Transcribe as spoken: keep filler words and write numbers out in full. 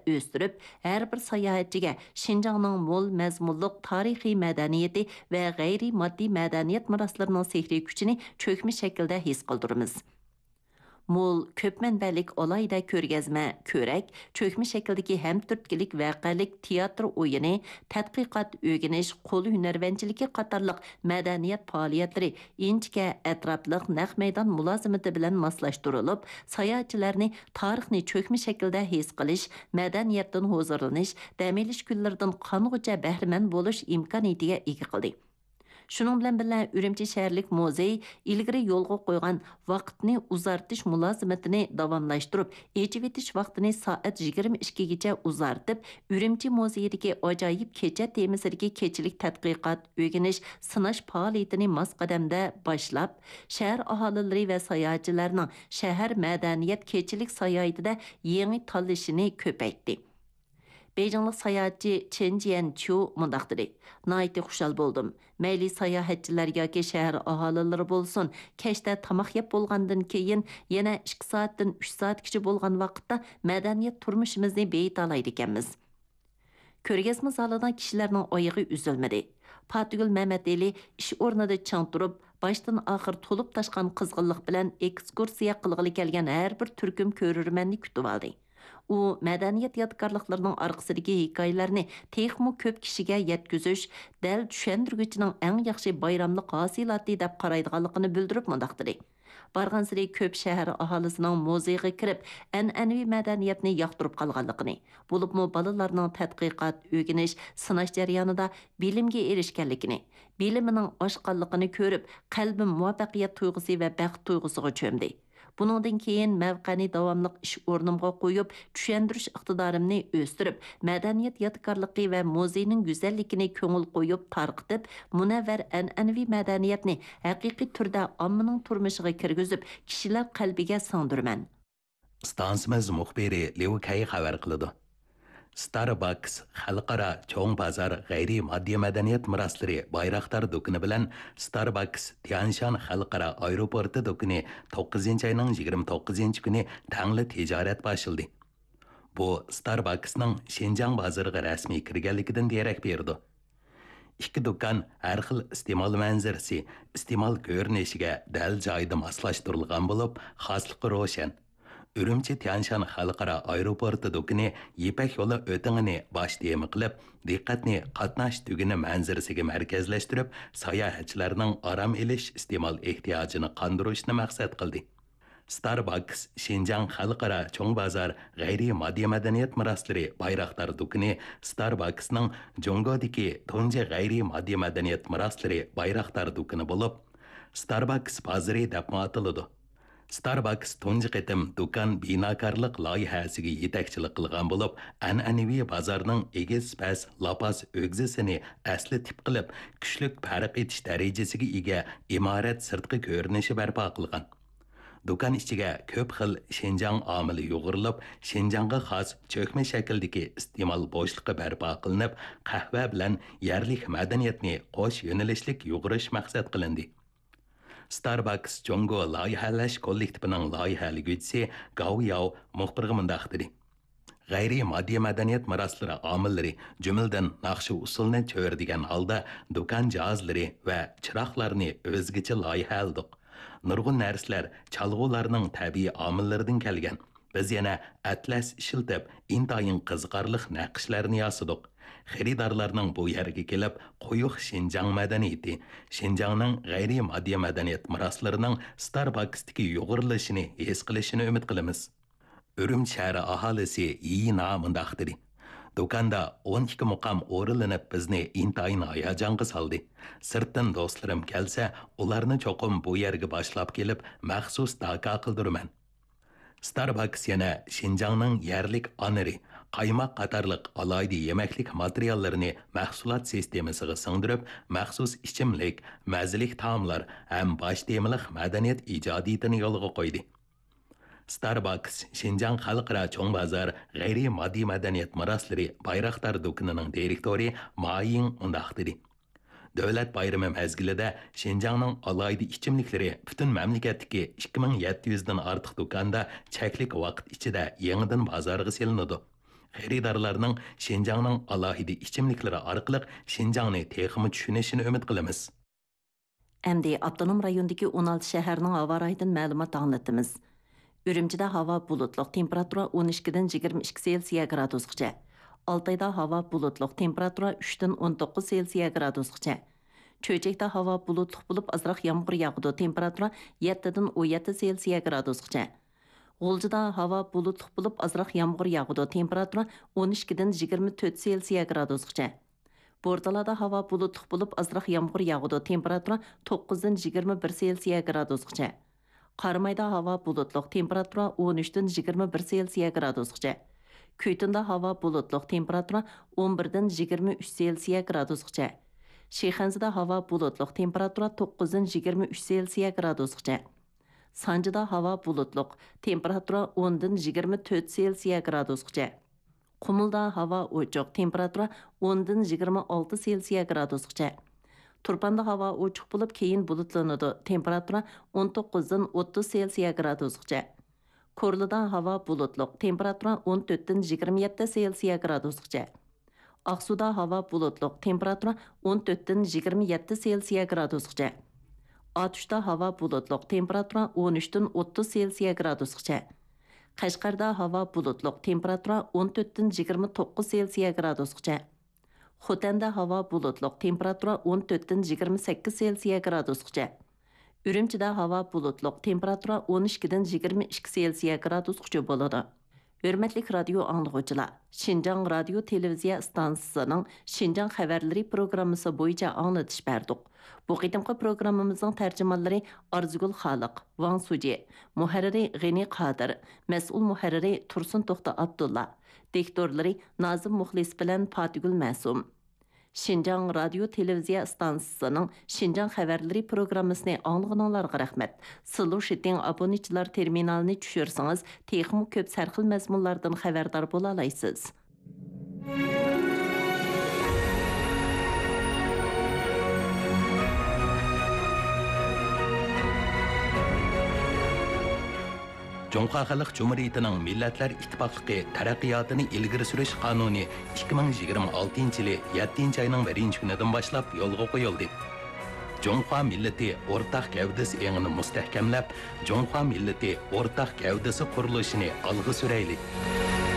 ئۆستۈرۈپ، ھەر بىر ساياھەتچىگە شىنجاڭنىڭ مول مەزمۇنلۇق تارىخىي مەدەنىيىتى ۋە غەيرىي ماددىي مەدەنىيەت مىراسلىرىنىڭ سېھرىي كۈچىنى چۆكمە شەكىلدە ھېس قىلدۇرىمىز. مول، كۆپ مەنبەلىك ئالاھىدە كۆرگەزمە، كۆرەك، چۆكمە شەكىلدىكى ھەمتۈرتكىلىك ۋەقەلىك تىياتىر ئويۇنى، تەتقىقات، ئۆگىنىش، قول ھۈنەرۋەنچىلىكى قاتارلىق مەدەنىيەت پائالىيەتلىرى ئىنچىكە، ئەتراپلىق نەق مەيدان مۇلازىمىتى بىلەن ماسلاشتۇرۇلۇپ، ساياھەتچىلەرنى تارىخنى چۆكمە شەكىلدە ھېس قىلىش، مەدەنىيەتتىن ھۇزۇرلىنىش، دەم ئېلىش كۈنلىرىدىن قانغۇچە بەھرىمەن بولۇش ئىمكانىيىتىگە ئىگە قىلدى. شۇنىڭ بىلەن بىللە، ئۈرۈمچى شەھەرلىك مۇزېي ئىلگىرى يولغا قويغان ۋاقىتنى ئۇزارتىش مۇلازىمىتىنى داۋاملاشتۇرۇپ، ئېچىۋېتىش ۋاقتىنى سائەت يىگىرمە ئىككىگىچە ئۇزارتىپ، ئۈرۈمچى مۇزېيىدىكى ئاجايىپ كېچە تېمىسىدىكى كېچىلىك تەتقىقات، ئۆگىنىش، سىناش پائالىيىتىنى ماس قەدەمدە باشلاپ، شەھەر ئاھالىلىرى ۋە ساياھەتچىلەرنىڭ شەھەر مەدەنىيەت كېچىلىك ساياھىتىدە يېڭى تاللىشىنى كۆپەيتتى. بېيجىڭلىق ساياھەتچى چېن جيەنچيۇ مۇنداق دېدى: ناھايىتى خۇشال بولدۇم. مەيلى ساياھەتچىلەر ياكى شەھەر ئاھالىلىرى بولسۇن، كەچتە تاماق يەپ بولغاندىن كېيىن، يەنە ئىككى سائەتتىن ئۈچ سائەتكىچە بولغان ۋاقىتتا مەدەنىيەت تۇرمۇشىمىزنى بېيىتالايدىكەنمىز. كۆرگەزمە زالىدا كىشىلەرنىڭ ئايىغى ئۈزۈلمىدى. پاتىگۈل مەمەتئېلى ئىش ئورنىدا چىڭ تۇرۇپ، باشتىن ئاخىر تولۇپ تاشقان قىزغىنلىق بىلەن ئېكسكۇرسىيە قىلغىلى كەلگەن ھەر بىر تۈركۈم كۆرۈرمەننى كۈتۈۋالدى. ئۇ مەدەنىيەت يادىكارلىقلىرىنىڭ ئارقىسىدىكى ھېكايىلەرنى تېخىمۇ كۆپ كىشىگە يەتكۈزۈش دەل چۈشەندۈرگۈچىنىڭ ئەڭ ياخشى بايراملىق ھاسىلاتى دەپ قارايدىغانلىقىنى بىلدۈرۈپ مۇنداق دېدى: بارغانسېرى كۆپ شەھەر ئاھالىسىنىڭ مۇزېيغا كىرىپ، ئەنئەنىۋى مەدەنىيەتنى ياقتۇرۇپ قالغانلىقىنى، بولۇپمۇ بالىلارنىڭ تەتقىقات، ئۆگىنىش، سىناش جەريانىدا بىلىمگە ئېرىشكەنلىكىنى، بىلىمىنىڭ ئاشقانلىقىنى كۆرۈپ، قەلبىم مۇۋەپپەقىيەت تۇيغۇسى ۋە بەخت تۇيغۇسىغا چۆمدى. بۇنىڭدىن كېيىن مەۋقەنى داۋاملىق ئىش ئورنۇمغا قويۇپ، چۈشەندۈرۈش ئىقتىدارىمنى ئۆستۈرۈپ، مەدەنىيەت يادىكارلىقى ۋە مۇزېينىڭ گۈزەللىكىنى كۆڭۈل قويۇپ تارقىتىپ، مۇنەۋۋەر ئەنئەنىۋى مەدەنىيەتنى ھەقىقىي تۈردە ئاممىنىڭ تۇرمۇشىغا كىرگۈزۈپ، كىشىلەر قەلبىگە سىڭدۈرىمەن. ئىستانسىمىز مۇخبىرى ليۇ كەي خەۋەر قىلىدۇ. ستارباكس خەلقئارا چوڭ بازار غەيرىي ماددىي مەدەنىيەت مىراسلىرى بايراقدار دۇكىنى بىلەن ستارباكس تيەنشان خەلقئارا ئايروپورتى دۇكىنى توققۇزىنچى ئاينىڭ يىگىرمە توققۇزىنچى كۈنى تەڭلا تىجارەت باشلىدى. بۇ ستارباكسنىڭ شىنجاڭ بازىرىغا رەسمىي كىرگەنلىكىدىن دېرەك بېرىدۇ. ئىككى دۇكان ھەر خىل ئىستېمال مەنزىرىسى، ئىستېمال كۆرۈنۈشىگە دەل جايىدا ماسلاشتۇرۇلغان بولۇپ، خاسلىقى روشەن. ئۈرۈمچى تيەنشان خەلقئارا ئايروپورتى دۇكىنى يىپەك يولى ئۆتىڭىنى باش تېما قىلىپ، دىققەتنى قاتناش تۈگۈنى مەنزىرىسىگە مەركەزلەشتۈرۈپ، ساياھەتچىلەرنىڭ ئارام ئېلىش ئىستېمال ئېھتىياجىنى قاندۇرۇشنى مەقسەت قىلدى. ستارباكس شىنجاڭ خەلقئارا چوڭ بازار غەيرىي ماددىي مەدەنىيەت مىراسلىرى بايراقدار دۇكىنى ستارباكسنىڭ جۇڭگودىكى تۇنجى غەيرىي ماددىي مەدەنىيەت مىراسلىرى بايراقدار دۇكىنى بولۇپ، ستارباكس بازىرى دەپمۇ ئاتىلىدۇ. ستارباكس تۇنجى قېتىم دۇكان بىناكارلىق لايىھەسىگە يېتەكچىلىك قىلغان بولۇپ، ئەنئەنىۋى بازارنىڭ ئېگىز-پەس لاپاس ئۆگزىسىنى ئەسلى تىپ قىلىپ، كۈچلۈك پەرق ئېتىش دەرىجىسىگە ئىگە ئىمارەت سىرتقى كۆرۈنۈشى بەرپا قىلغان. دۇكان ئىچىگە كۆپ خىل شىنجاڭ ئامىلى يۇغۇرۇلۇپ، شىنجاڭغا خاس چۆكمە شەكىلدىكى ئىستېمال بوشلۇقى بەرپا قىلىنىپ، قەھۋە بىلەن يەرلىك مەدەنىيەتنى قوش يۆنىلىشلىك يۇغۇرۇش مەقسەت قىلىندى. ستارباكس جۇڭگو لايىھەلەش كوللېكتىپىنىڭ لايىھەلىگۈچىسى گاۋ ياۋ مۇخبىرغا مۇنداق دېدى: غەيرىي ماددىي مەدەنىيەت مىراسلىرى ئامىللىرى، جۈملىدىن ناخشا-ئۇسسۇلنى چۆرىدىگەن ھالدا دۇكان جاھازلىرى ۋە چىراغلارنى ئۆزگىچە لايىھەلىدۇق. نۇرغۇن نەرسىلەر چالغۇلارنىڭ تەبىئىي ئامىللىرىدىن كەلگەن. بىز يەنە ئەتلەس ئىشلىتىپ، ئىنتايىن قىزىقارلىق نەقىشلەرنى ياسىدۇق. خېرىدارلارنىڭ بۇ يەرگە كېلىپ، قويۇق شىنجاڭ مەدەنىيىتى، شىنجاڭنىڭ غەيرىي ماددىي مەدەنىيەت مىراسلىرىنىڭ ستارباكستىكى يۇغۇرۇلۇشىنى ھېس قىلىشىنى ئۈمىد قىلىمىز. ئۈرۈمچى شەھىرى ئاھالىسى يىنا مۇنداق دېدى: دۇكاندا ئون ئىككى مۇقام ئورۇنلىنىپ، بىزنى ئىنتايىن ھاياجانغا سالدى. سىرتتىن دوستلىرىم كەلسە، ئۇلارنى چوقۇم بۇ يەرگە باشلاپ كېلىپ، مەخسۇس داكا قىلدۇرىمەن. ستارباكس يەنە شىنجاڭنىڭ يەرلىك ئانىرى، قايماق قاتارلىق ئالاھىدە يېمەكلىك ماتېرىياللىرىنى مەھسۇلات سىستېمىسىغا سىڭدۈرۈپ، مەخسۇس ئىچىملىك، مەززىلىك تائاملار ھەم باش تېمىلىق مەدەنىيەت ئىجادىيىتىنى يولغا قويدى. ستارباكس شىنجاڭ خەلقئارا چوڭ بازار غەيرىي ماددىي مەدەنىيەت مىراسلىرى بايراقدار دۇكىنىنىڭ دىرېكتورى ما يىڭ مۇنداق دېدى: دۆلەت بايرىمى مەزگىلىدە شىنجاڭنىڭ ئالاھىدە ئىچىملىكلىرى پۈتۈن مەملىكەتتىكى ئىككى مىڭ يەتتە يۈزدىن ئارتۇق دۇكاندا چەكلىك ۋاقىت ئىچىدە يېڭىدىن بازارغا سېلىنىدۇ. خېرىدارلارنىڭ شىنجاڭنىڭ ئالاھىدە ئىچىملىكلىرى ئارقىلىق شىنجاڭنى تېخىمۇ چۈشىنىشىنى ئۈمىد قىلىمىز. ئەمدى ئاپتونوم رايوندىكى ئون ئالتە شەھەرنىڭ ھاۋا رايىدىن مەلۇمات ئاڭلىتىمىز. ئۈرۈمچىدە ھاۋا بۇلۇتلۇق، تېمپېراتۇرا ئون ئىككىدىن يىگىرمە ئىككى سېلسىيە گرادۇسقىچە. ئالتايدا ھاۋا بۇلۇتلۇق، تېمپېراتۇرا ئۈچتىن ئون توققۇز سېلسىيە گرادۇسقىچە. چۆچەكتە ھاۋا بۇلۇتلۇق بولۇپ، ئازراق يامغۇر ياغىدۇ، تېمپېراتۇرا يەتتىدىن ئون يەتتە سېلسىيە گرادۇسقىچە. غۇلجىدا ھاۋا بۇلۇتلۇق بولۇپ، ئازراق يامغۇر ياغىدۇ، تېمپېراتۇرا ئون ئىككىدىن يىگىرمە تۆت سېلسىيە گرادۇسقىچە. بورتالادا ھاۋا بۇلۇتلۇق بولۇپ، ئازراق يامغۇر ياغىدۇ، تېمپېراتۇرا توققۇزدىن يىگىرمە بىر سېلسىيە گرادۇسقىچە. قارامايدا ھاۋا بۇلۇتلۇق، تېمپېراتۇرا ئون ئۈچتىن يىگىرمە بىر سېلسىيە گرادۇسقىچە. كۈيتۇندا ھاۋا بۇلۇتلۇق، تېمپېراتۇرا ئون بىردىن يىگىرمە ئۈچ سېلسىيە گرادۇسقىچە. شىخەنزىدە ھاۋا بۇلۇتلۇق، تېمپېراتۇرا توققۇزدىن يىگىرمە ئۈچ سېلسىيە گرادۇسقىچە. سانجىدا ھاۋا بۇلۇتلۇق، تېمپېراتۇرا ئوندىن يىگىرمە تۆت سېلسىيە گرادۇسقىچە. قۇمۇلدا ھاۋا ئوچۇق، تېمپېراتۇرا ئوندىن يىگىرمە ئالتە سېلسىيە گرادۇسقىچە. تۇرپاندا ھاۋا ئوچۇق بولۇپ، كېيىن بۇلۇتلىنىدۇ، تېمپېراتۇرا ئون توققۇزدىن ئوتتۇز سېلسىيە گرادۇسقىچە. كورلىدا ھاۋا بۇلۇتلۇق، تېمپېراتۇرا ئون تۆتتىن يىگىرمە يەتتە سېلسىيە گرادۇسقىچە. ئاقسۇدا ھاۋا بۇلۇتلۇق، تېمپېراتۇرا ئون تۆتتىن يىگىرمە يەتتە سېلسىيە گرادۇسقىچە. ئاتۇشتا ھاۋا بۇلۇتلۇق، تېمپېراتۇرا ئون ئۈچتىن ئوتتۇز سېلسىيە گرادۇسقىچە. قەشقەردە ھاۋا بۇلۇتلۇق، تېمپېراتۇرا ئون تۆتتىن يىگىرمە توققۇز سېلسىيە گرادۇسقىچە. خوتەندە ھاۋا بۇلۇتلۇق، تېمپېراتۇرا ئون تۆتتىن يىگىرمە سەككىز سېلسىيە گرادۇسقىچە. ئۈرۈمچىدە ھاۋا بۇلۇتلۇق، تېمپېراتۇرا ئون ئىككىدىن يىگىرمە ئىككى سېلسىيە گرادۇسقىچە بولىدۇ. ھۆرمەتلىك رادىيو ئاڭلىغۇچىلار، شىنجاڭ رادىيو تېلېۋىزىيە ئىستانسىسىنىڭ شىنجاڭ خەۋەرلىرى پروگراممىسى بويىچە ئاڭلىتىش بەردۇق. بۇ قېتىمقى پروگراممىمىزنىڭ تەرجىمانلىرى ئارزۇگۈل خالىق، ۋاڭ سۇجى، مۇھەررىرى غېنى قادىر، مەسئۇل مۇھەررىرى تۇرسۇن توختى ئابدۇللا، دىكتورلىرى نازىم مۇخلىس بىلەن پاتىگۈل مەسۇم. شىنجاڭ رادىيو تېلېۋىزىيە ئىستانسىسىنىڭ شىنجاڭ خەۋەرلىرى پروگراممىسىنى ئاڭلىغىنىڭلارغا رەھمەت. سىلۇ شىتىڭ ئابۇنىچىلار تېرمىنالىنى چۈشۈرسىڭىز، تېخىمۇ كۆپ سەرخىل مەزمۇنلاردىن خەۋەردار بولالايسىز. جۇڭخۇا خەلق جۇمھۇرىيىتىنىڭ مىللەتلەر ئىتتىپاقلىقى تەرەققىياتىنى ئىلگىرى سۈرۈش قانۇنى ئىككى مىڭ يىگىرمە ئالتىنچى يىلى يەتتىنچى ئاينىڭ بىرىنچى كۈنىدىن باشلاپ يولغا قويۇلدى. جۇڭخۇا مىللىتى ئورتاق گەۋدىسى ئېڭىنى مۇستەھكەملەپ، جۇڭخۇا مىللىتى ئورتاق گەۋدىسى قۇرۇلۇشىنى ئالغا سۈرەيلى!